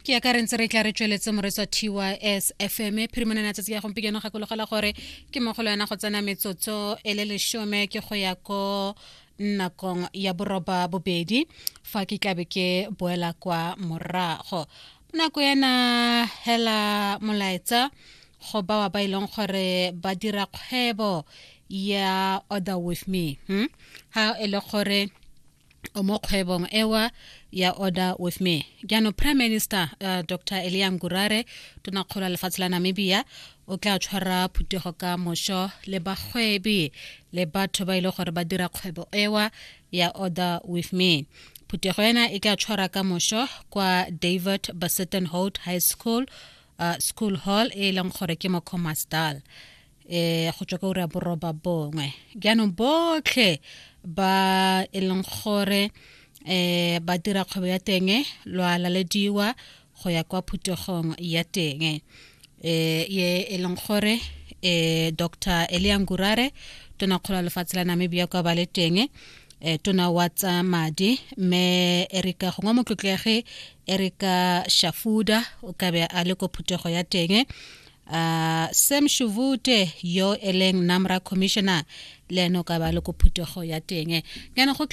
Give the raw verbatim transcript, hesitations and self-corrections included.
Ke ya ka re ntse re tla re tsweletse, moreetsi wa T Y S F M. Phirimanana tsatsi ya gompieno, gakologela gore ke mo go le yona go tsena metsotso e le lesome ke go ya ko nakong ya boroba bobedi, fa ke tlabe ke boela kwa morago nako ena. Hela molaetsa go bawa ba e leng gore ba dira kgwebo ya Order With Me, hmm? Ha e le gore o mo kgwebong ewa ya Order With Me. Jaanong Prime Minister uh, Doctor Elia Ngurare, tonakgolo ya lefatshe la Namibia, o tla tshwara phuthego ka mošo le bagwebi le batho ba e le gore ba dira kgwebo ewa ya Order With Me. Phuthego ena e tla tshwara ka mošo kwa David Bezuidenhout High School, uh, school hall e leng gore ke mo Khomasdal, eh go tswa ka ura boroba bongwe. Jaanong botlhe ba e leng gore eh ba dira kgwebo ya teng lwa lalediwa go ya kwa phuthegong ya teng eh ye e leng gore eh Doctor Elia Ngurare, tonakgolo ya lefatshe la Namibia, kwa ba le teng, eh tona wa tsa madi mme Erika, gongwe motlotlegi Erika Shafudah, o ka be a le ko phuthego ya teng. uh, Sam Shivute yo e leng NamRA commissioner, le ene o ka ba le ko phuthego ya teng. Jaanong go